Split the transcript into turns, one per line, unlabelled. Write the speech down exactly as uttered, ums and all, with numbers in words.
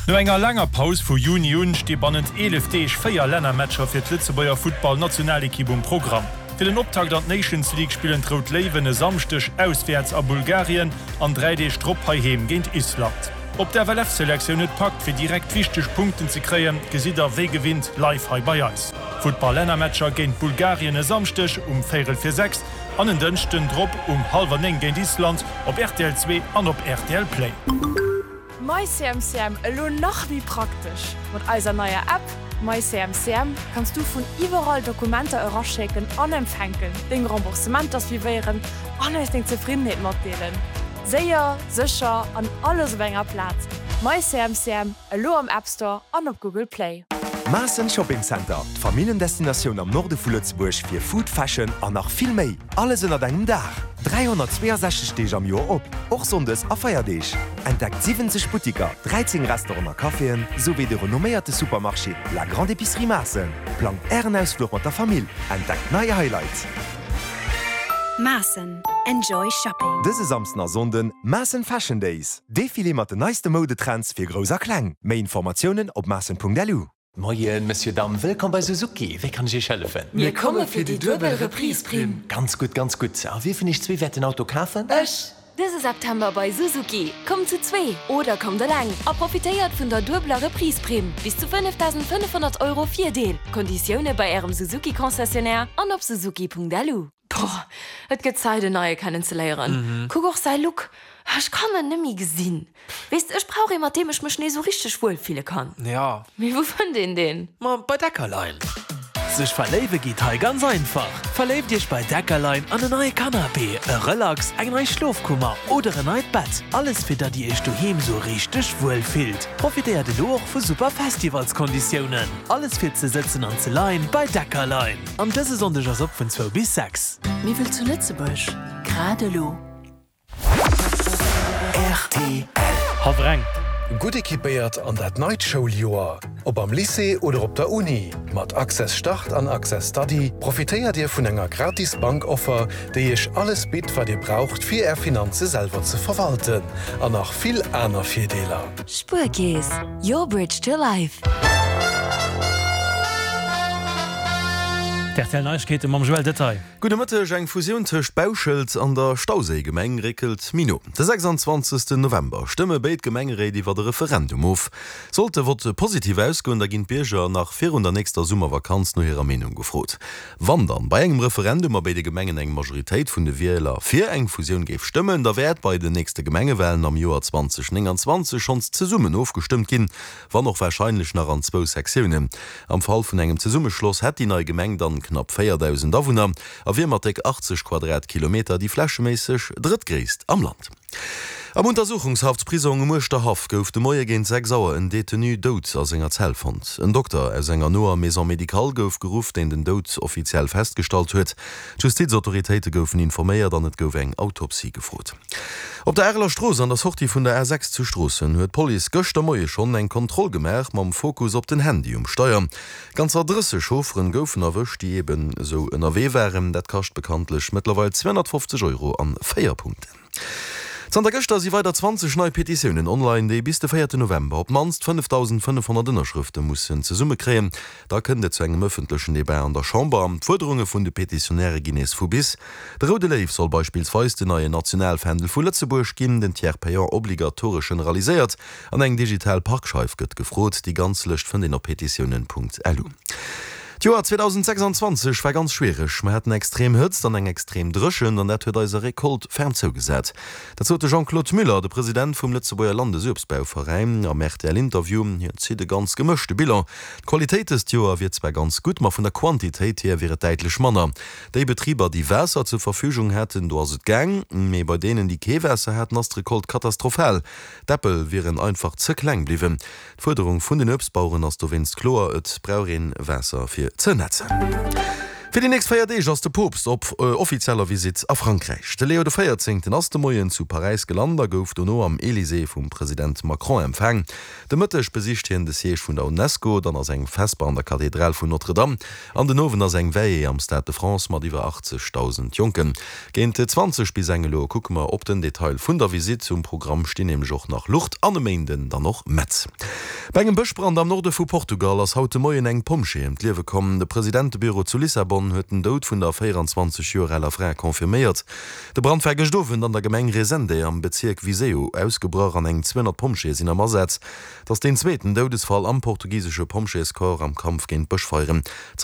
No enger laanger Paus vu Juni un sti bannent eelef Deeg véier Lännermatcher fir d'Lëtzebuerger Futtball-Nationalekipp um Programm. Fir den Optakt an d'Nations League spillen d'Rout Léiwen e Samschdeg auswäerts a Bulgarien an dräi Deeg drop heiheem géint Island. Ob d'FLF-Selektioun et packt, fir direkt wichteg Punkten ze kréien, gesitt der wéi gewinnt live hei bei eis. Futtball-Lännermatcher géint Bulgarien e Samschdeg um véierel vir sechs an en Dënschden drop um hallwer néng géint Island op rtl zwee an op rtl Play.
MyCMCM, elo nach méi praktesch! Mat eiser neier App MyCMCM kanns du vun iwwerall Dokumenter eraschécken an empfänken, deng Remboursementer suivéieren an eis deng Zefriddenheet matdeelen. Séier, sécher an alles op enger Plaz. MyCMCM, elo am App Store an op Google Play.
Maassen Shopping Center, d'Familljendestinatioun am Norde vu Lëtzebuerg fir Food, Fashion an nach vill méi. Alles ënnert engem Daach. dräihonnertzweeasechzeg Deeg am Joer op, och Sonndes a Feierdeeg. Entdeckt siwwenzeg Buttiker, dräizéng Restauranten a Caféen, souwéi de renomméierte Supermarché La Grande Épicerie Maassen. Plangt Ären Ausfluch mat der Famill, entdeckt nei Highlights.
Maassen, enjoy shopping.
Dëse Samsden a Sonnden Maassen Fashion Days, Defilé mat den neiste Moudetrends fir Grouss a Kleng. Méi Informatiounen op maassen Punkt lu.
Moien, Monsieur, Dame, wëllkomm bei Suzuki. Wéi kann ech Iech hëllefen?
Mir komme fir déi duebel Reprise-Primm.
Ganz gutt, ganz gutt. A wie vun iech zwee wäert den Auto kafen?
Ech.
Dëse September bei Suzuki. Kommt zu zwee oder kommt eleng a profitéiert vun der duebeler Reprise-Primm. Bis zu fënnefdausendfënnefhonnert Euro Virdeel. Konditioune bei Ärem Suzuki-Concessionnaire an op suzuki Punkt lu.
Boah, et gëtt Zäit en neie kennenzeléieren. Kuck och säi Look. Ech kann en net méi gesinn. Weess de, ech brauch ee mat deem ech mech nees sou richteg wuel fille kann.
Ja.
Mee wou fënnt een deen?
Ma bei Deckerlein. Sech verléiwe geet hei ganz einfach. Verléift iech bei Deckerlein an en neie Canapé, e Relax, eng nei Schlofkummer oder en neit Bett. Alles fir datt dir iech doheem sou richteg wuel fillt. Profitéiert elo och vu super Festivalskonditiounen. Alles fir ze sëtzen an ze leien bei Deckerlein. An dëse Sonndeg ass op vun zwou bis sechs.
Miwwel zu Lëtzebuerg, grad elo.
R T L.
Havreng.
Gutt equipéiert an dat neit Schouljoer. Ob am Lycée oder op der Uni. Mat Access Start an Access Study profitéiert Dir vun enger gratis Bankoffer, déi Iech alles bitt, wat Dir braucht, fir Är Finanze selwer ze verwalten. An nach vill aner Virdeeler.
Spuerkeess, your bridge to life.
D' R T L Neiegkeete mam Joël Detail.
Gudde Mëtteg, Eng Fusioun tëscht Bauschelt an der Stauséigemeng réckelt méi no. De sechsanzwanzegsten November stëmme béid Gemengeréit iwwer e Referendum of. Sollt de Vott positiv ausgoen, da ginn d'Bierger nach virun der nächster Summervakanz no hirer Meenung gefrot. Wann dann bei engem Referendum a béide Gemengen eng Majoritéit vun de Wieler fir eng Fusioun géif stëmmen, da wäert bei den nächste Gemengewalen am Joer zweitausendnénganzwanzeg schonns zesummen ofgestëmmt ginn, wann och warscheinlech nach an zwou Sektiounen. Am Fall vun engem Zesummeschloss hätt déi nei Gemeng dann knapp véierdausend Awunner a wier mat déck achtzeg Quadratkilometer déi flächeméisseg drëttgréisst am Land. Am Untersuchungshaftprisong um Uerschterhaff gouf de Moie géint sechs Auer en Detenu dout a senger Zell fonnt. En Dokter aus enger noer Maison médicale gouf geruff, deen den Doud offiziell festgestallt huet. D'Justizautoritéite goufen informéiert an et gouf eng Autopsie gefrot. Op der Areler Strooss an der Sortie vun der A sechs zu Stroossen huet d'Police gëschter Moie schonn eng Kontroll gemaach mam Fokus op den Handy um Steier. Ganzer drësseg Chaufferen goufen erwëscht, déi eben esou ënnerwee waren. Dat kascht bekanntlech mëttlerweil zweehonnertfofzeg Euro an véier Punkten. Zanter gëschter si weider zwanzeg nei Petitiounen online, déi bis de véierte November op d'mannst fënnefdausendfënnefhonnert Ënnerschrëfte mussen zesummekréien. Da kënnt et zu engem ëffentlechen Debat an der Chamber. D'Fuerderunge vun de Petitionäre ginn nees vu bis. De Roude Léiw soll beispillsweis den neien Nationalfändel vu Lëtzebuerg ginn, den Tiers payant obligatoresch generaliséiert an eng digital Parkscheif gëtt gefrot. Déi ganz Lëscht fënnt een op petitiounen Punkt lu. D'Joer zweetausendsechsanzwanzeg war ganz schwiereg. Mer haten extrem Hëtzt an eng extrem Dréchent an dat huet eiser Recolte ferm zougesat. Dat sot de Jean-Claude Muller, de President vum Lëtzebuerger Landesuebstbauveräin, am R T L-Interview. Hien zitt e ganz gemëschte Bilan. D'Qualitéit dëst Joer wier zwar ganz gutt, ma vun der Quantitéit hier wier et däitlech manner. Déi Betriber, déi Waasser zur Verfügung haten, do ass et gaang, mee bei deenen, déi kee Waasser haten, ass d'Recolte katastrophal. D'Äppel wieren einfach ze kleng bliwwen. D'Fuerderung vun den Uebstbaueren ass dowéinst kloer, Et brauch ee Waasser fir ze nätzen. Fir déi nächst véier Deeg ass de Poopst op offizieller Visitt a Frankräich. De Leo de Véierzéngten ass de Moien zu Paräis gelant a gouf dono am Elysée vum President Macron empfaang. De Mëtteg besicht hien de Siège vun der Unesco, dann ass eng Vesper an der Kathedral vun Notre-Dame an den Owend ass eng Veillée am Stade de France mat iwwer achtzegdausend Jonken. Géint zwanzeg bis eng elo kucke mer op den Detail vun der Visitt. Um Programm stinn nämlech och nach Lourdes an e Méinden dann och Metz. Bei engem Bëschbrand am Norde vu Portugal ass haut de Moien eng Pompjee ëm d'Liewe komm. De Presidentebüro zu Lissabon huet den Doud vun der véieranzwanzeg Joer aler Fra confirméiert. De Brand war gëscht Owend an der Gemeng Resende am Bezierk Viseu ausgebrach an eng zweehonnert Pompjeeë sinn am Asaz. Et ass deen zweeten Doudesfall am portugisesche Pompjeescorps am Kampf géint d'Bëschfeieren. Zanter